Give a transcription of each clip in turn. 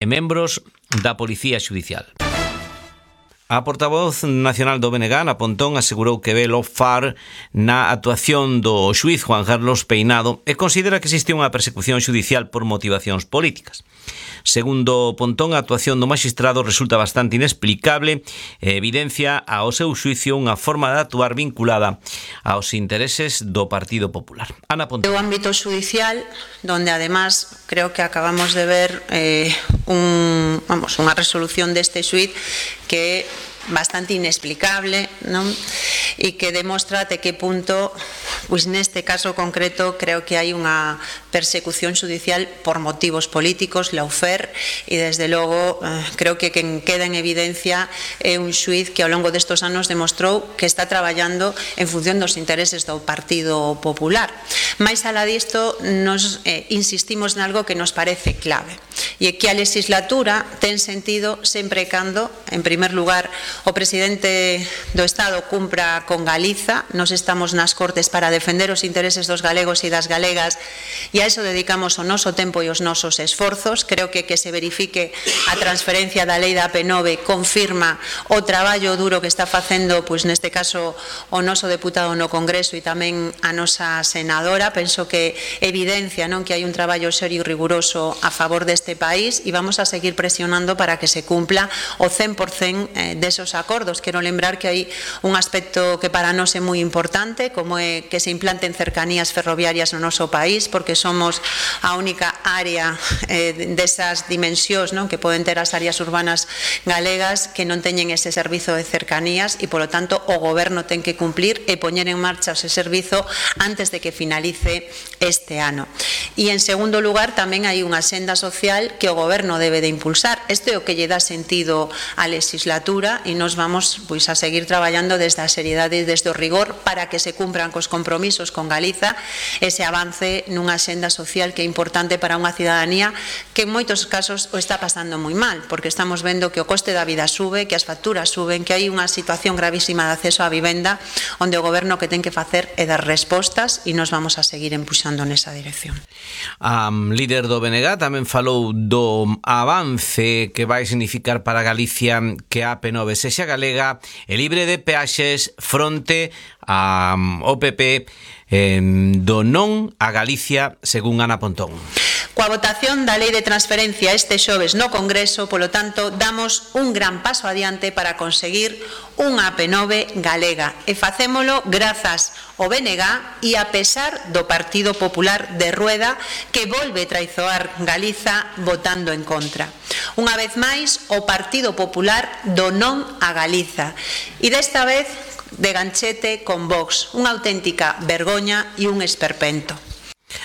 membros da Policía Xudicial. A portavoz nacional do BNG, Ana Pontón, asegurou que ve lofar na actuación do xuíz Juan Carlos Peinado e considera que existe unha persecución xudicial por motivacións políticas. Segundo Pontón, a actuación do magistrado resulta bastante inexplicable e evidencia ao seu xuicio unha forma de actuar vinculada aos intereses do Partido Popular. Ana Pontón. O ámbito xudicial, donde además creo que acabamos de ver unha resolución deste xuiz que é bastante inexplicable, non? E que demostra até que punto, pois neste caso concreto, creo que hai unha persecución xudicial por motivos políticos, lawfare, e desde logo creo que quen queda en evidencia é un xuiz que ao longo destes anos demostrou que está traballando en función dos intereses do Partido Popular. Mais alá disto, nos insistimos nalgo que nos parece clave, e é que a legislatura ten sentido sempre e cando, en primer lugar, o presidente do Estado cumpra con Galiza. Nos estamos nas Cortes para defender os intereses dos galegos e das galegas, e a iso dedicamos o noso tempo e os nosos esforzos. Creo que se verifique a transferencia da lei da AP9 confirma o traballo duro que está facendo, pois neste caso, o noso deputado no Congreso e tamén a nosa senadora. Penso que evidencia, non, que hai un traballo serio e riguroso a favor deste país, e vamos a seguir presionando para que se cumpla o 100% desos acordos. Quero lembrar que hai un aspecto que para nós é moi importante, como é que se implanten cercanías ferroviarias no noso país, porque somos a única área desas dimensións, non, que poden ter as áreas urbanas galegas que non teñen ese servizo de cercanías, e polo tanto o Goberno ten que cumplir e poñer en marcha ese servizo antes de que finalice este ano. E en segundo lugar, tamén hai unha senda social que o Goberno debe de impulsar. Isto é o que lle dá sentido á legislatura, e nos vamos, pois, a seguir traballando desde a seriedade e desde o rigor para que se cumpran cos compromisos con Galiza, ese avance nunha senda social que é importante para unha cidadanía que en moitos casos o está pasando moi mal, porque estamos vendo que o coste da vida sube, que as facturas suben, que hai unha situación gravísima de acceso á vivenda, onde o Goberno que ten que facer é dar respostas, e nos vamos a seguir empuxando nesa dirección. A líder do BNG tamén falou do avance que vai significar para Galicia que a AP9 sexa galega e libre de peaxes fronte ao PP do non a Galicia, según Ana Pontón. Coa votación da Lei de Transferencia este xoves no Congreso, polo tanto, damos un gran paso adiante para conseguir unha AP9 galega, e facémolo grazas ao BNG e a pesar do Partido Popular de Rueda, que volve traizoar Galiza votando en contra. Unha vez máis, o Partido Popular do non a Galiza, e desta vez de ganchete con Vox, unha auténtica vergoña e un esperpento.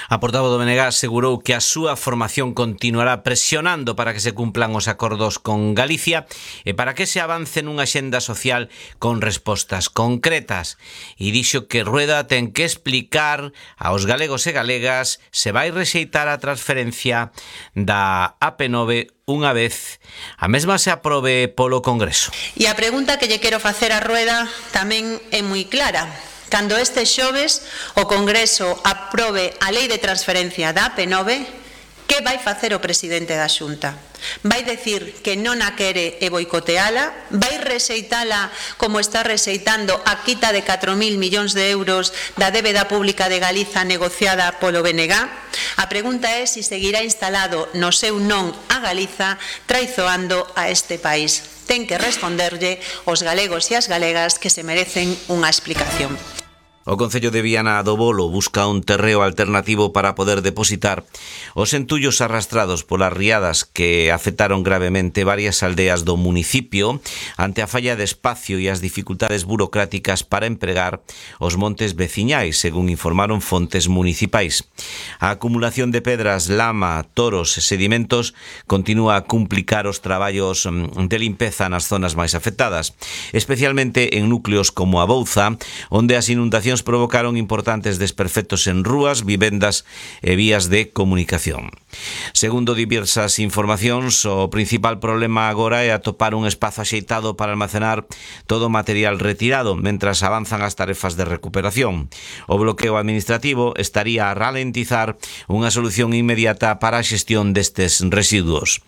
A portavoz do BNG asegurou que a súa formación continuará presionando para que se cumplan os acordos con Galicia e para que se avance nunha xenda social con respostas concretas, e dixo que Rueda ten que explicar aos galegos e galegas se vai rexeitar a transferencia da AP9 unha vez a mesma se aprobe polo Congreso. E a pregunta que lle quero facer a Rueda tamén é moi clara. Cando este xoves o Congreso aprobe a Lei de Transferencia da AP9, que vai facer o presidente da Xunta? Vai decir que non a quere e boicoteala? Vai rexeitala como está rexeitando a quita de 4.000 millóns de euros da débeda pública de Galiza negociada polo BNG? A pregunta é se seguirá instalado no seu non a Galiza, traizoando a este país. Ten que responderlle os galegos e as galegas que se merecen unha explicación. O Concello de Viana do Bolo busca un terreo alternativo para poder depositar os entullos arrastrados polas riadas que afectaron gravemente varias aldeas do municipio ante a falla de espacio e as dificultades burocráticas para empregar os montes veciñais, según informaron fontes municipais. A acumulación de pedras, lama, toros e sedimentos continúa a complicar os traballos de limpeza nas zonas máis afectadas, especialmente en núcleos como a Bouza, onde as inundacións provocaron importantes desperfectos en rúas, vivendas e vías de comunicación. Segundo diversas informacións, o principal problema agora é atopar un espazo axeitado para almacenar todo o material retirado, mentras avanzan as tarefas de recuperación. O bloqueo administrativo estaría a ralentizar unha solución inmediata para a xestión destes residuos.